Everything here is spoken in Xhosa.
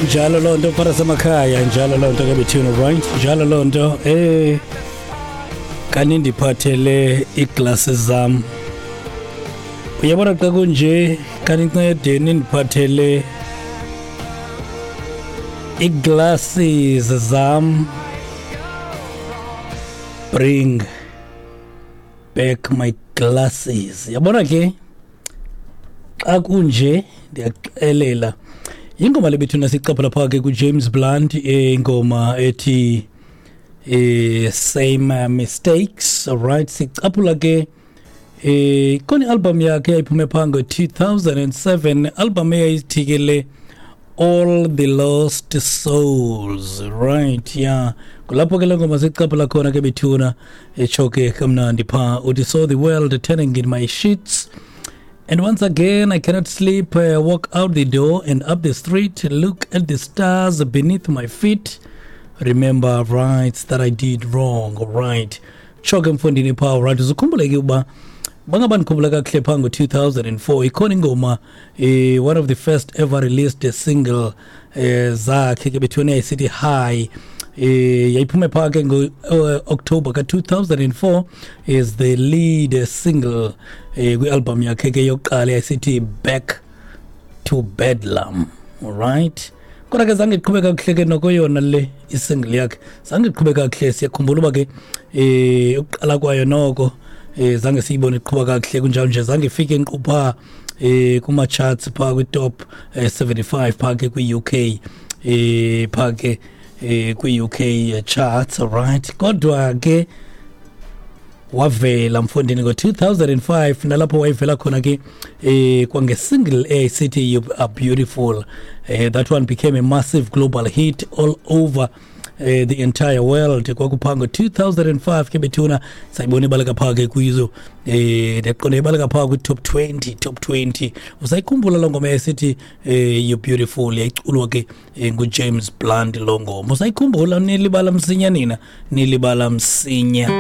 Injalo loo nto mfana semakhaya, injalo loo nto ke bethuna, right? Injalo loo nto. Kanindiphathele iiglasi zam. Uyabona xa kunje, kanincede nindiphathele iiglasses zam. Bring back my glasses. Yabona ke xa kunje ndiyaxelela. Ingoma le bethuna sicaphula phaa ke kuJames Blunt, ingoma ethi Same Mistakes. Alright, sicaphula ke khona i-album yakhe yayiphume phaa ngo-2007, album eyayithi ke le All the Lost Souls, right? Yeah, kulapho ke le ngoma sicaphula khona ke bethuna, etsho ke kamnandi phaa uthi, "So the world turning in my sheets and once again I cannot sleep. Walk out the door and up the street, look at the stars beneath my feet, remember rights that I did wrong." Right, tsho ke mfondini phaa. Right, uzukhumbule ke uba bangaba ndikhumbula kakuhle phaa ngo-2004 ikhona ingoma, one of the first ever released single zakhe ke bethuna, yayisithi High. Yayiphume phaa ke ngo-October ka-2004 is the lead single kwi-album yakhe ke yokuqala yayisithi Back to Bedlam. Alright, kodwa ke zange iqhube kakuhle ke noko yona le isingle yakhe, zange iqhube kakuhle. Siyakhumbula uba ke ukuqala kwayo noko zange siyibone iqhuba kakuhle, kunjalo nje zange ifike nkqu phaa kuma charts phaa kwi top 75 phaa ke kwi UK, phaa ke kwi UK charts. Alright, kodwa ke wavela mfondini ngo-2005, nalapho wayevela khona ke kwange-single eyayisithi "You Are Beautiful". That one became a massive global hit all over the entire world. Kwakuphaa ngo-2005 ke bethuna, sayibona ibaleka phaa ke kwizo, ndiyaqonda ibaleka phaa kwi-top 20, top 20. Usayikhumbula loo ngoma yayisithi "You Beautiful"? Yayiculwa ke nguJames Blunt loo ngoma. Usayikhumbula? Nilibala msinya nina, nilibala msinya.